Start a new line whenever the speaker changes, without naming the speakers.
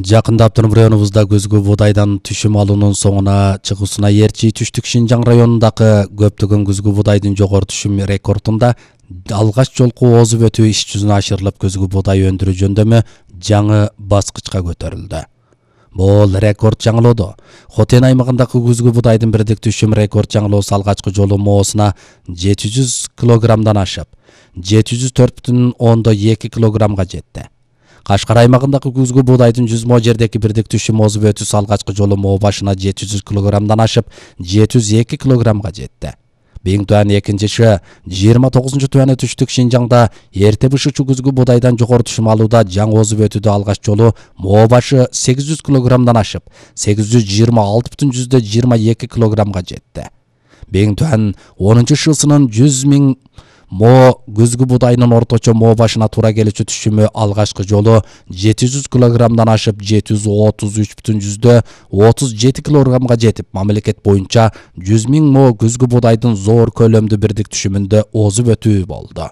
Жакында Автоном районубузда көзгү будайдан түшүм алуунун соңуна чыгуусуна эрчи Түштүк Шинжаң районундагы көптөгөн күзгү будайдын жогору түшүм рекордунда алгач жолку озуп өтүү иш жүзүнө ашырылып көзгү будай өндүрүү жөндөмү жаңы баскычка көтөрүлдү. Бул рекорд жаңылоодо. Хотен аймагындагы күзгү будайдын бирдик түшүм рекорд жаңылоосу алгачкы жолу моосуна 700 килограммдан ашып, 704,2 килограммга жетти. Кашкар аймагындагы күзгү будайдын 100 мо жердеги бирдик түшүм озуп өтүүсү алгачкы жолу моо башына 700 килограммдан ашып, 702 килограммга жетти. Биң туан экинчиши 29 туаны Түштүк Шинжаңда эрте бышычу күзгү будайдан жогору түшүм алууда жаңы озуп өтүүдө алгач жолу моо башы 800 килограммдан ашып, 826,22 килограммга жетти. Биң туан 10-шысынын 100.000 мо күзгү будайынын орточо моо башына туура келүүчү түшүмү алгачкы жолу 700 килограммдан ашып 733,37 килограммга жетип, мамлекет боюнча 100.000 мо күзгү будайдын зор көлөмдүү бирдик түшүмүндө озуп өтүү болду.